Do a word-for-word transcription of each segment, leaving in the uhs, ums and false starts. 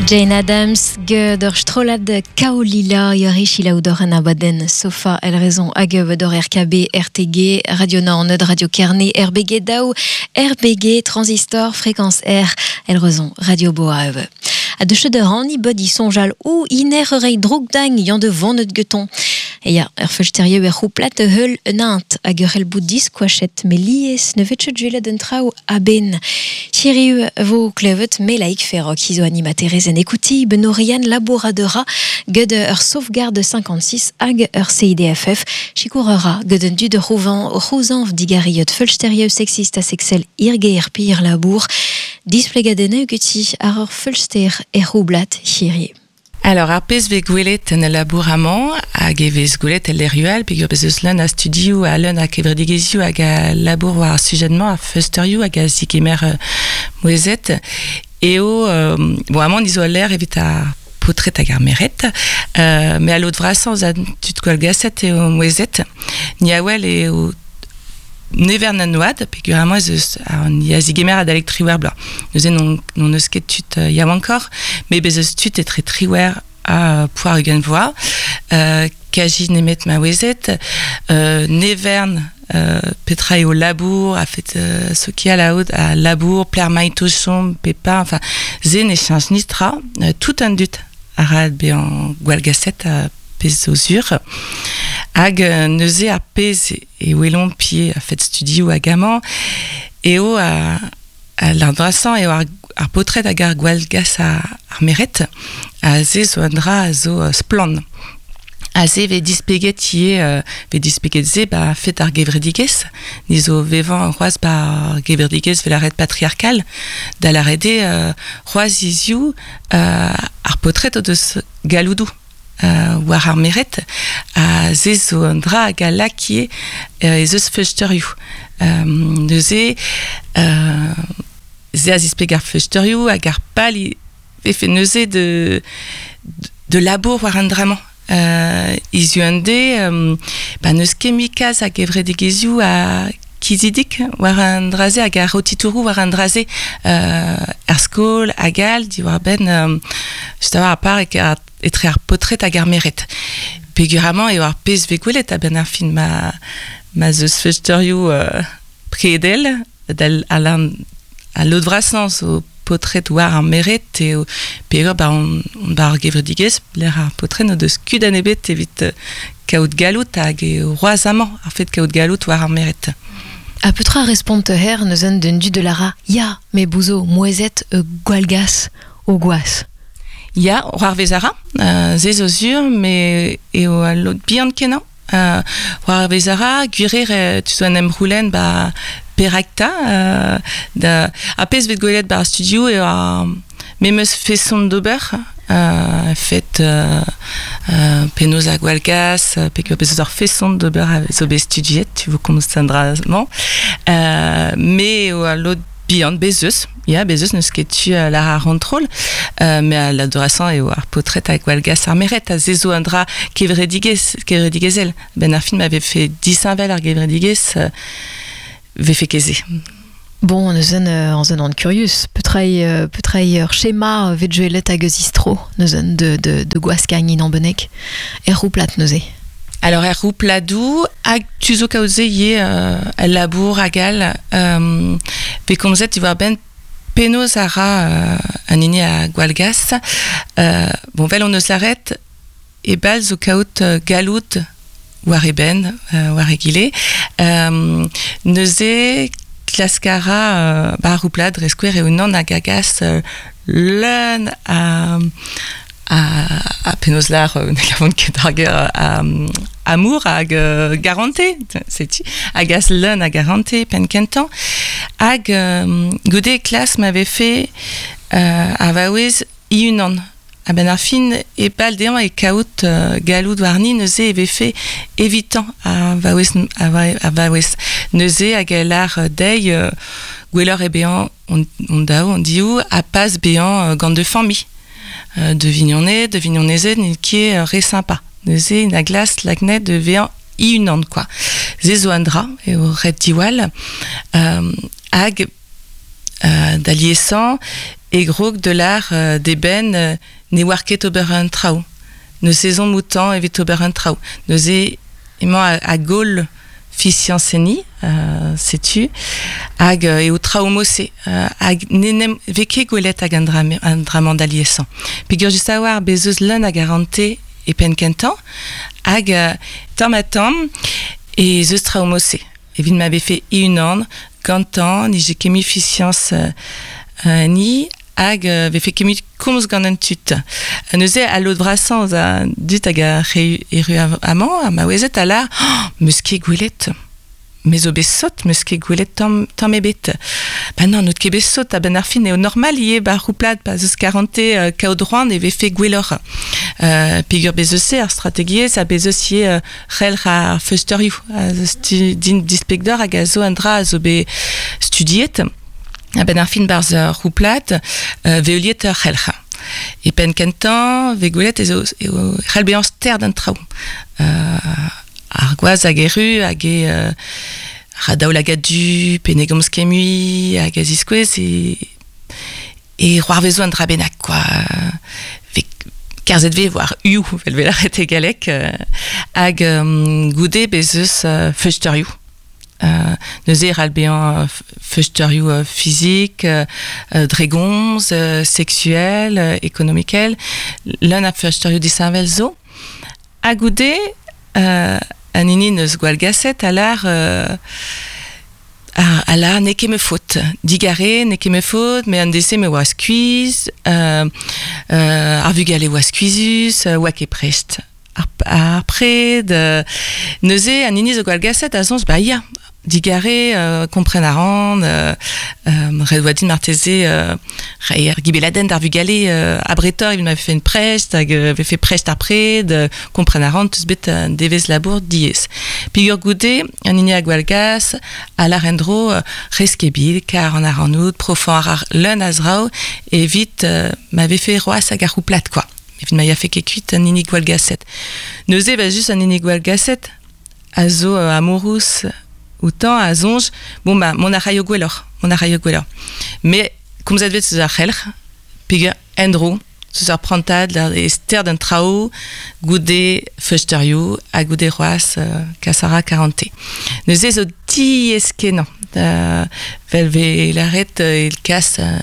Jane Addams ged ur strollad Kaolila yori chilaoudor an abadenn Sofa el rezon hag dor R K B, R T G, Radio Naoned, Radio Kerne, R B G Daou, R B G, Transistor, Fréquence R, el rezon Radio Boa. A de cheu de rani bod i sonjal ou iner rei drogdang yan de vannet geton. E ya, ur feulsterioù er c'houplat heul un int hag ur el bout diskoachet me lies ne vet chet julet un traoù a-ben. Hiriu vo klevet me laik ferrok izo animaterez en ekouti benorian laboradora ged ur sauvegarde cinquante-six hag ur C I D F F chikourera ged un dud rouvan rouzanv digariot feulsterioù sexist a sexel irge er pir labour displegadene geti ar ur feulster er roublat hiriu. Alors, ar pezh vez gwelet en labour amañ, hag e vez gwelet el lerioù peogwir bez eus leun a studioù ha leun a kevredigezhioù hag a labour war ar sujet-mañ, a feusterioù hag a zigemer euh, mouezet. Eo, euh, bon, amañ nizo al ler evit ar potret hag ar meret, euh, me a lod vrasañ a tud gwall gaset eo mouezet. Ni a wel eo nevern an oad, peogwir amañ ez eus ar ni a zigemer adalek triwer bloaz. Neuze non, non eus ket tud euh, yaouankoc'h, met bez eus tud etre triwer ha poar ugent vloaz, euh, kaji nemet ma ouezet, euh, nevern, euh, petra eo labour, a fet euh, sokial a out, a labour, pler maito chom, pepa, enfin, ze ne cheñch nitra, euh, tout an dud a ra bezañ gwall gaset a pezh zo sur. Hag euh, neuze ar pezh e welomp pie a fet studioù hag amañ, eo a, a l'an eo ar, ar potret hag ar gwall gas a, ar meret, a ze zo an dra a zo uh, splann. A ze ve displeget ie, euh, ve displeget ze ba fet ar gevredigez, ni zo vevan c'hoaz ba ar gevredigez vel ar red patriarkal, da la rede euh, c'hoaz izioù euh, ar potret o deus galoudou. Euh, war ar meret, a ze zo an dra hag a lakie euh, ez eus feusterioù. Euh, neuze, euh, ze a zispleg ar feusterioù hag ar pal i vefe neuze de, de labour war an dramañ. Euh, izioù an de, euh, ba neus ket mui kalz hag evredigezhioù a kizidik war an draze hag ar rotitourou war an draze, euh, ar skol hag all diwar benn, euh, just a war ar par e ar etre ar potret hag ar meret. Peogwir amañ eo ar pezh vez gwelet a-benn ar fin ma, ma zeus feusterioù, euh, predel, dal a a lod vrasañ zo potret war ar meret eo peogwir ba on, on ba ar gevredigezh, lec'h ar potret n'o deus kudenn ebet evit, euh, kaout galout hag eo roaz amañ ar fet kaout galout war ar meret. A petra respont her neuzen d'un dud de lara ya, me bouzo mouezet euh, gwallgas o gwaz. Ya, war vezara, euh, ze zo zur, me eo a lod bihan kenañ. Euh, war vezara, gwirer, euh, tu zo an emroulen ba perakta, euh, da, a pezh vet gwelet ba ar studio eo ar memeus feson d'ober, euh, fet, euh, euh, penaos a gwallgas, peogwir bez eus ar feson d'ober a zo bet studiet, tu vo komz an dra-mañ. Euh, me eo a lod bihan, bez eus, ya, bez eus, n'eus ket tu euh, lar ar c'hontrol, euh, me a l'adorasañ eo ar potret hag gwallgas ar meret, a ze zo an dra kevredigez, kevredigezhel. Ben ar film avait fait disheñvel ar gevredigezh, euh, vefe ket se. Bon, neuzen, euh, an zen an curious, petra eo, euh, petra eo ur schéma, euh, vet juelet hag eus istro, neuzen de, de, de gwaskagn in an benek, er rouplat neuze. Alors, er roupladou, hag tu zo kaout se ivez, euh, el labour hag all, euh, pe komzet tu war ben penaos a ra, euh, an hini a gwallgas. Euh, bon, vel on eus laret, e bal zo kaout, euh, galout war e ben, euh, war e gile. Euh, neuze klaskara, euh, ba rouplad dre skouer eo nan hag a gas, euh, leun a, a, a penaos lar, euh, ne gavont ket ar ger, a, amour hag, euh, garante, setu, hag as leun a garante pen kentañ. Hag, euh, goude klas m'avait fait, euh, a vaouez i-unan. A ben ar fin e pal dezhañ e kaout, euh, galout warni neuze e vefe evitant a vaouez, a va-, a vaouez. Neuze hag el ar deiz, euh, gwelloc'h e bezañ on, on dao, on diou, a pas bezañ, euh, gant de famille. Euh, de vignonnet, de vignonezed, n'eo ket, euh, re sympa. Neuze, na glas lagnet de vezañ i-unan, quoi. Ze zo an dra, eo ret diwall. Euh, hag, euh, da liesañ, E grog de l'ar euh, d'eben euh, ne war ket ober un traoù. Ne saison moutan evit ober un traoù. Neuze emañ a, a gaol fiziañs-enni, euh, setu, hag euh, eo traoù mose, euh, hag nenem vez ket gwelet hag an dra, an dra-mañ da liesañ. Peogwir just a-walc'h bez eus leun a garante e penn kentañ, hag euh, tamm ha tamm ez eus traoù mose. Evit ma vefe e-unan, gantañ, nije ket mui fiziañs euh, euh, ni, hag euh, vefe ket mui komz gant an tud. Neuze al lod vrasañ eus a dud hag a re erru amañ, ha maouezed a lar, oh, meus ket gwelet. Me zo bet sot, meus ket gwelet tamm, tamm ebet. Ba non, n'out ket bet sot, a-benn ar fin eo normal ivez ba c'houplad, pa 'z eus karante euh, kaout c'hoant e vefe gwelloc'h. Euh, peogwir bez eus se ar strategiezh ha bez eus ivez euh, c'helc'h ar feusteurioù, a zo stu, din displeg deoc'h hag a zo un dra a zo bet studiet. A-benn ar fin barzh ur c'houplad, euh, vez heuliet ur c'helc'h. E penn kentañ, vez gwelet ez eo, eo c'hell bezañ stert an traoù. Euh, ar gwaz hag erru hag e euh, ra daoulagad du, pe ne gomz ket mui, hag a ziskouez e, e c'hoarvezo an dra bennak, quoi. Vez kerzhet vez war uioù, vel vez lâret e galleg, euh, hag euh, goude bez eus euh, feusteurioù. Euh, neuze e c'hall bezañ feusteurioù euh, fizik, euh, dre gomz, euh, sexuel, euh, ekonomikel, leun a feusteurioù disheñvel zo. Ha goude, euh, an hini neus gwallgaset a lar euh, a, a lar n'eo ket ma faot. Digare, n'eo ket ma faot, me an dese me oa skuizh, euh, euh, ar vugale oa skuizhus, euh, oa ket prest. Ar, ar pred, euh, neuze an hini zo gwallgaset a soñj, ba ya, digare, euh, kompren a ran, euh, euh, ret oa din marteze, euh, reiñ ar gibeladenn d'ar vugale, euh, abretoc'h evit ma vefe prest, hag euh, vefe prest ar pred, euh, kompren a ran, teus bet un devezh labour diaes. Peogwir goude, an hini a gwallgas, a lar en-dro, euh, rez ket bil, kar an ar an out, profañ ar ar leun a zraoù, evit euh, ma vefe c'hoazh hag ar c'houplad, quoi. Evit ma yafe ket kuit an hini gwallgaset. Neuze, ba just an hini gwallgaset, a zo euh, amourous outañ a soñj, bon ba, mont a raio gwelloc'h, mont a raio gwelloc'h. Mais komzet vez eus ar c'helc'h, peogwir en-dro, eus ar prantad, e sterd an traoù, goude feusteurioù, ha goude c'hoazh euh, kas a ra karante. Neuze zo diaes-kenañ, euh, vel vez lâret euh, il kas euh,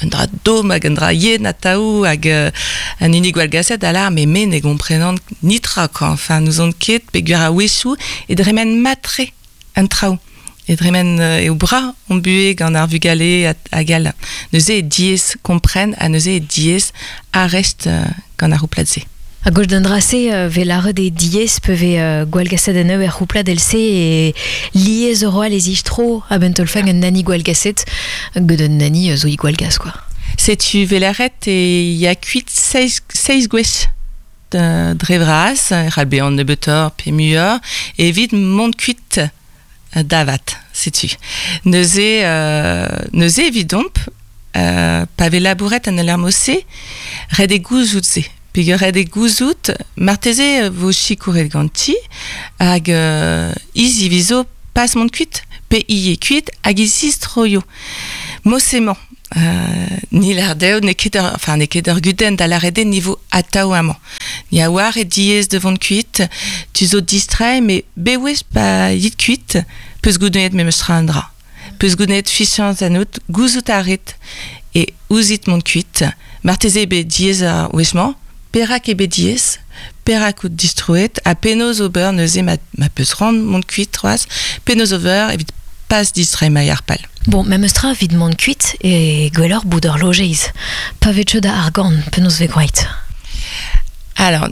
un dra domm hag un dra yen atav hag euh, an hini gwallgaset a lar, me me ne gomprenan nitra, quoi. Enfin, n'ouzon ket peogwir a-wechoù e dremen mat-tre an traoù. E dremen euh, eo bra on buhez gant ar vugale hag all. Neuze e diaes kompren ha neuze e diaes arrest euh, gant ar c'houplad-se. A gauche d'un dracé euh, vez lâret e diaes pe vez euh, gwallgaset an eo er c'houplad el-se e lies eo les tro a ben tolfang un nani gwallgaset gant un nani euh, zo i gwallgas, quoi. Setu vez lâret e ya kuit seizh, seizh gwech de, dre vras, c'hall bezañ nebeutoc'h pe muioc'h, evit mont kuit davat, setu. Neuze, euh, neuze evidomp, euh, pa vez labouret an alarmose, ret eo gouzout se. Peogwir ret eo gouzout, marteze vo sikouret ganti, hag euh, hi zivizo pas mont kuit, pe hi eo kuit, hag e zistroio. Mosemañ, euh, ni lar dezho, n'eo ket ur, enfin, n'eo ket ur gudenn da lâret eo ni vo atav amañ. Ni a oar e diaes de vont kuit, tu zo distrait, mais bewech pa yit kuit, peus goudennet memes tra an dra. Peus goudennet fiziañs ennout, gouzout a rit e ouzit mont kuit, marteze eo bet diaes ar wech-mañ, perak eo bet diaes, perak out distroet, ha penaos ober neuze ma, ma peus c'hoant mont kuit c'hoazh, penaos ober evit pas distreiñ ma ar pal. Bon, memes tra evit mont kuit e gwelloc'h bout ur lojeiz. Pa vez da argant, penaos vez gwraet. Alors,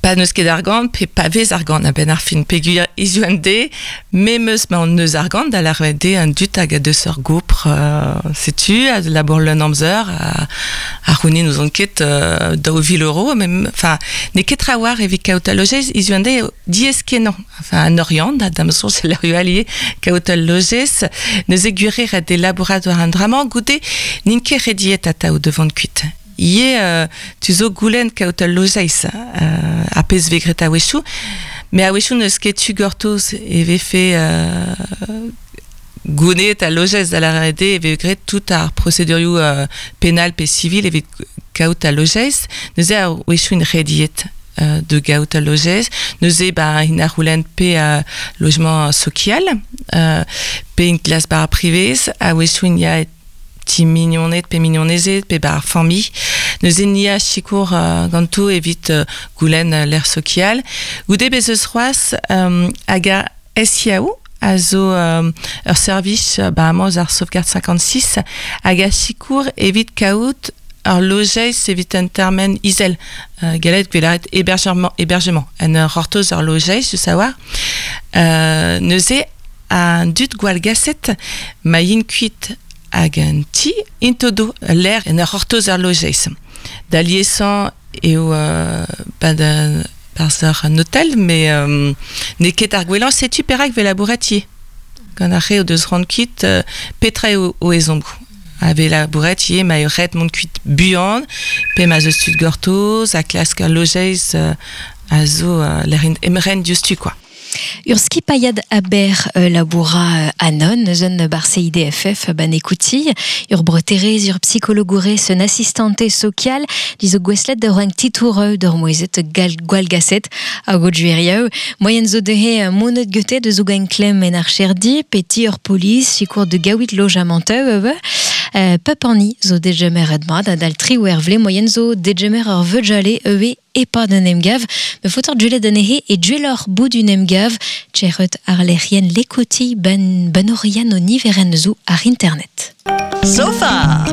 pa n'eus ket argant, pe pa vez argant a-benn ar fin, peogwir hiziv an deiz, memes ma an neus argant, da lâret eo an dud hag a deus ur gopr, euh, setu, a labour leun amzer, a, a c'hounit n'ouzon ket, euh, daou vil euro, mem, enfin, n'eo ket trawalc'h evit kaout al lojeiz, hiziv an deiz diaes-kenañ. Enfin, an Oriant, da da'm soñj, c'est l'heure allié, kaout al lojeiz, neuze gwir eo ret eo labourat war an dra-mañ, goude n'int ket rediet atav da vont kuit. Ivez, euh, tu zo goulenn kaout al lojeiz, euh, ar pezh vez graet a-wechoù, mais a-wechoù n'eus ket tu gortoz e vefe, euh, gounet a lojez da la R D e vez graet tout ar procédurioù euh, penal pe civil evit kaout a lojez. Neuze a wechoù int rediet euh, de gaout a lojez. Neuze ba int a c'houlenn pe euh, logement social, euh, pe int klas bar privez, a wechoù int ya ti mignoned pe mignonezed pe bar familh. Neuze ni a sikour euh, ganto evit euh, goulenn euh, l'air social. Goude bez eus c'hoazh euh, hag a S I A O a zo euh, ur servij euh, ba amañ eus ar sauvegarde cinquante-six hag a sikour evit kaout ur lojeiz evit un termen izel. Euh, galet gwelaret hébergement, hébergement. En ur c'hortoz ur lojeiz, je savoir. Euh, neuze an dud gwall gaset ma yin kuit hag un ti int o do l'air en ur c'hortoz ur lojeiz. Da liesañ eo euh, ba da barzh ur un hôtel, mais euh, n'eo ket ar gwellañ setu perak vez labouret ivez. Gant ar re o deus c'hoant kuit, euh, petra eo o ezhommoù. A vez labouret ivez ma eo ret mont kuit buan, pe ma zeus tud gortoz, a klask ur lojeiz euh, a zo euh, l'air emren diouzhtu, quoi. Ur skipaiad aber euh, laboura euh, anon, eus bar C I D F F ban ekouti, ur breterez, ur psychologourez, un assistante social, dizo gweslet da roank titoureu d'ur moezet gal gwall gaset hag o duerieu. Moyen zo dehe monet gete de zo gain klem en ar cherdi, peti ur polis, sikour de gaouit lojamenteu, euh, euh, pep anni zo degemer edmad, adal tri ou ervle, moyen zo degemer ur veujale eue e pa d'un emgav, me fotor duelet anehe e duelor bout d'un emgav, tcherret ar lec'hien lekoti ban banorian o niveren zo ar internet. Sofa!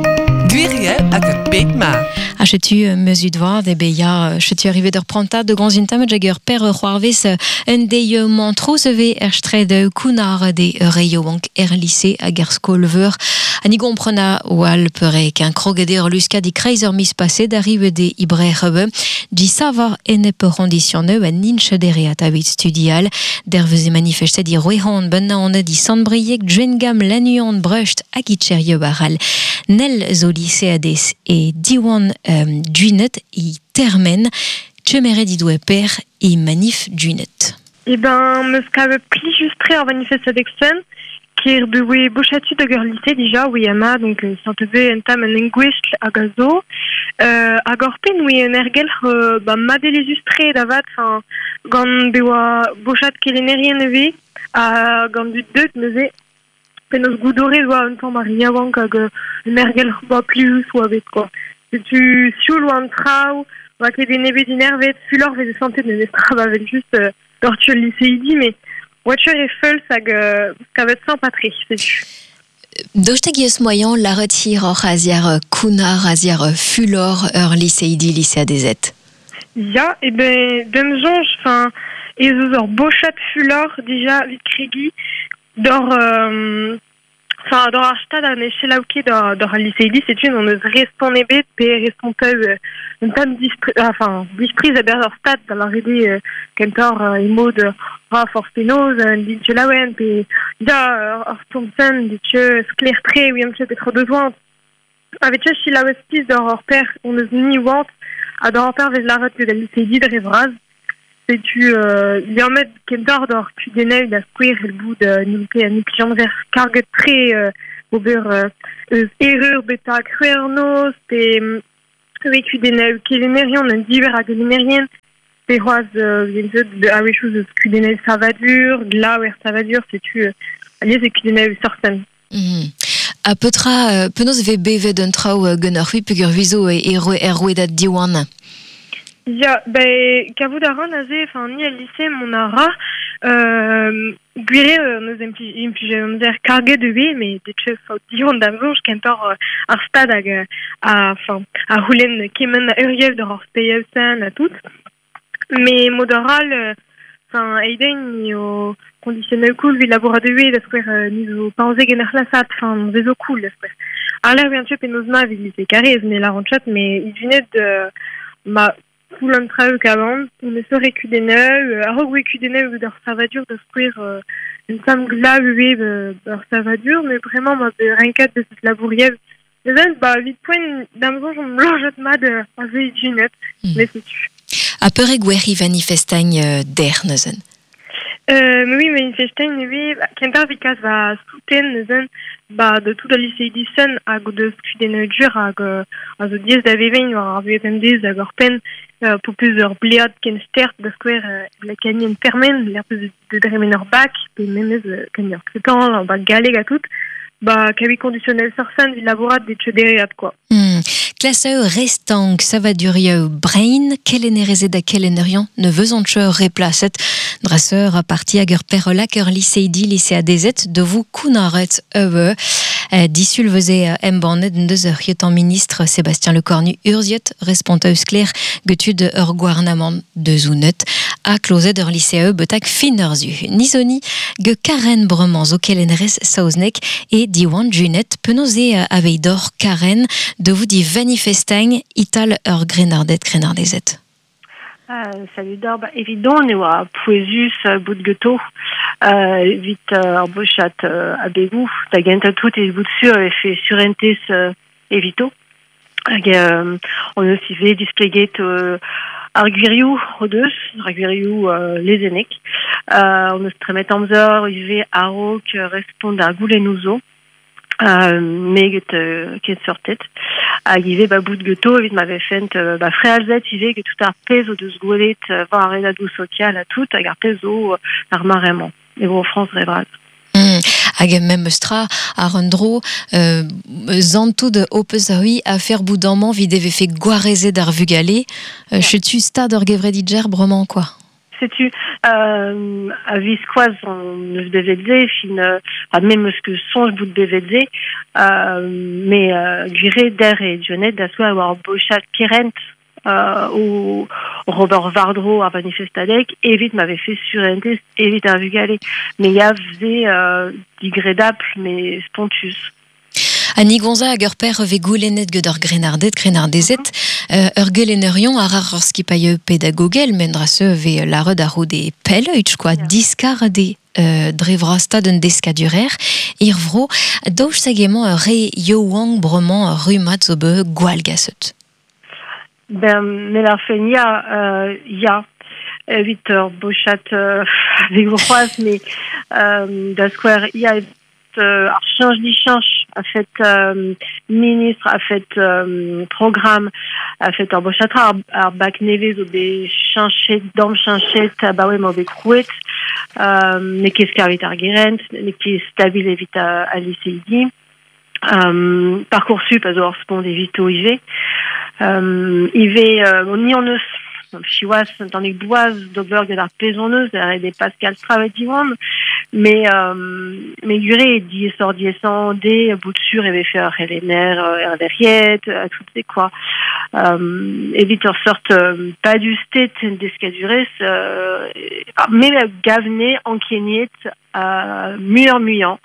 Gwiriel hag ur bed ma. Ha chetu meus vad e be ya chetu arrivé d'ur prantad de gant intam jager per c'hoarvez un deiz mantroz eve er stred kounar de reio bank er lycée hag er skol veur. Ha ni gomprena oal peurek un krogede ur luskad i kreiz ur mis passé d'arrive de ibrer be di sava enep ronditionneu a ninche dereat avit studial derveze manifestet i roehon benna on di Sant-Brieg Djengam Lannuon Brecht hag itcherio baral nel zo lycéades e diwan euh, dunet i termen tchemeret di doe per e manif dunet. Eh ben, meus kavet plijus-tre ar manifestadeg sen, ker bewe bochatu da ur lycée dija, oui ama, donc euh, saint-ebe entam an engouestl hag a zo. Euh, hag ur pen oui un ergelc'h euh, ba madelezus-tre da vat, enfin, gant bewa bochat kelennerien eve, ha gant dud deut neuze, penaos goudore oa un tamm ar yaouank hag euh, un ergelc'h ba plijus oa bet, quoi. Setu sioul oa an traoù, oa ket en ebet inervet, fulor veze santet neuze tra ba vel just euh, dortu ul lycéidi, mais voiture e feuls hag euh, kavet sympa-tre, setu. Daoust hag eus moyen laret hiroc'h a-ziar kounar, a-ziar fulor ur lycéidi lycéadezed. Ya, e ben, d'am soñj, enfin, ez eus ur bochat fulor dija vit kregi d'or euh, enfin, d'or ar stad an selaou ket d'or, d'or al lycéidi, setu on eus respont ebet pe responteu euh, un tamm dispri, enfin, dispriz a ber ur stad da la rede euh, kentor euh, e mod ra forz penaos un dit laouen pe da ur stourm-sen dit skler-tre oui am petra deus oant. Avet selaouez piz d'or ur per on eus ni oant ha d'or ur per vez laret ket al lycéidi dre vras. Setu euh, liammet kentor d'or kudennoù da skouer el bout de n'out ket an implijanzer karget tre euh, ober euh, eus erreur beta c'hwernoz pe e kudennoù kelennerion un diver a gelennerien pe c'hoazh euh, a-wechoù eus kudennoù savadur, glav er savadur, setu euh, alies e kudennoù sorten. Mm -hmm. Ha petra, euh, penaos vez bevet un traoù euh, ganeoc'h c'hwi peogwir vizo e er rouedad Diwan? Ya, ben, kavout a ran aze, enfin, ni el lycée mon a ra, euh, gwir eo neus implij, implij amzer karget ivez, mais detche faot diwan d'am soñj kentor euh, ar stad hag a, enfin, a c'houlenn kement a euriev d'ur ar speiev sen ha tout. Mais mod aral, euh, enfin, eiden ni o conditionnel cool vid labourat ivez da skouer euh, ni zo paouzeg en ur c'hlasad, enfin, vezo cool da skouer. Ar lec'h vihan penaos ma vid lycée Karez, ne lâran chat, mais idunet euh, ma koul an traoù kavan, on eus ur kudennoù, euh, a-raok oe kudennoù d'ur savadur da skouer euh, un tamm glav ivez euh, ur savadur, mais vraiment ma be renkat deus labouriev. Neuze, ba, evit poent d'am soñj on lojet mat euh, a ze idunet, mm. mais setu. Ha peur e gwerri manifestagn euh, der neuzen? Euh, mais oui, manifestein, oui, ba, kentañ evit kas va souten neuzen, ba, de tout al liseidi sen hag o deus kudennoù dur hag euh, a zo diaes da vevañ war ar vuhez pemdez hag ur penn euh, po peus ur blead ken stert da skouer euh, la kanien permen, l'air peus de dremen ur bak, pe memez euh, kan ur tretan, ur bak galleg ha tout, ba, kavi conditionnel sorsan vid labourat de tchedereat, quoi. Hmm. Klaseu restank savadurieu brain, kelennerezed ha kelennerion ne vezont cheur replaset dresseur a parti hag ur perolak ur liseidi liseadezet de vous kounaret eue. Euh, disul veze embannet deus ur an ministre Sébastien Lecornu urziet responteus kler getud ur gouarnamant de zounet a klozet ur lycée betak fin ur zu. Nizoni ge Karen Bremañ zo kelennerez saoznek e Diwan Junet penaos eo aveidor Karen de vous di manifestagn ital ur grenardet grenardezet. Uh, salut d'or, ba, evidon eo a pouezus uh, bout geto uh, evit uh, ar bochat uh, a begou, da genta tout e bout sur e fe surentez uh, evito. Hag euh, on eus ivez displeget uh, ar gwirioù o deus, ar gwirioù uh, lezennek. Uh, on eus tremet amzer ivez a-raok respont ar goulennoù zo. Euh, me get, euh, ket sortet. Hag ivez ba bout geto evit ma vefent euh, ba frealzet ivez get tout ar pezh o deus gwelet euh, war ar redadoù sokial ha tout hag ar pezh zo euh, ar maremañ. E vo France dre vras. Mm. Hag mem eus tra ar un dro euh, zantout o peus a hui a fer bout vid e vefe gwarezet ar vugale euh, yeah. Chetu stad ur gevredidjer bremañ quoi. Setu euh, a viskoaz on eus bevet fin euh, a mem eus ket soñj bout bevet euh, me euh, gwire der e dionet da soa war bochat kerent euh, o Robert Vardro ar manifestadeg evit ma vefe surentez evit ar vugale. Me ya vze euh, digredapl me spontus. Annie Gonza hag ur per ve goulennet get ur grenardet, grenardezet, mm -hmm. euh, ur gelennerion ar ar ur skipailh pedagogel, men dra se ve laret ar de peleuch, quoi, yeah. diskar de euh, dre vrastad un deskadurer, ir vro, daoust hag emañ ur re youank bremañ rummad zo be gwall gaset. Ben, me la fen ya, euh, ya, evit ur bochat euh, avec c'hoazh, mais euh, da skouer ya euh, ar change di change a fet euh, ministre a fet euh, programme a fet ur bochatra ar, ar bak nevez zo bet chañchet dam chañchet abaoe ma bet krouet euh, n'eo ket skarvet ar gerent n'eo ket stabil evit a, a liseidi euh, Parcoursup a zo ur spont evito ivez euh, ivez euh, ni an eus siwazh un tammig boaz d'ober get ar pezh hon eus ar de Pascal Stravet Diwan mais euh, mais gure diaesoc'h diaesañ de bout sur e vefe ur c'helenner er lec'hiet tout se quoi euh, evit ur sort euh, padusted deskadurezh euh, me gavne ankeniet euh, muioc'h muiañ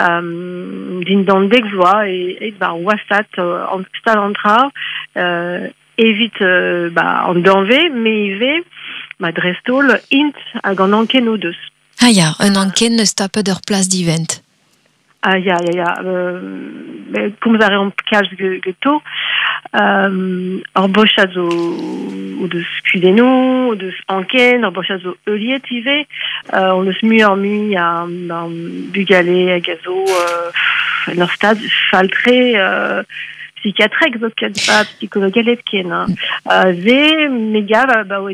euh, dindan dek vloaz e, e ba wasat euh, an stad an tra euh, evit euh, ba, an danvez, me ivez, ma dreist-holl int hag an anken o deus. Ah ya, un anken neus tapet ur plas divent. Ah ya, ya, ya. Euh, komz a reomp kalz geto. Euh, ur bochad zo o deus kudennoù, o deus anken, ur bochad zo heuliet ivez. Euh, on eus muioc'h mui a, a bugale hag a zo euh, en ur stad fall-tre euh, psychiatrek zo ket ba psikologelek ken. Hein. Euh, ze me gav ba oe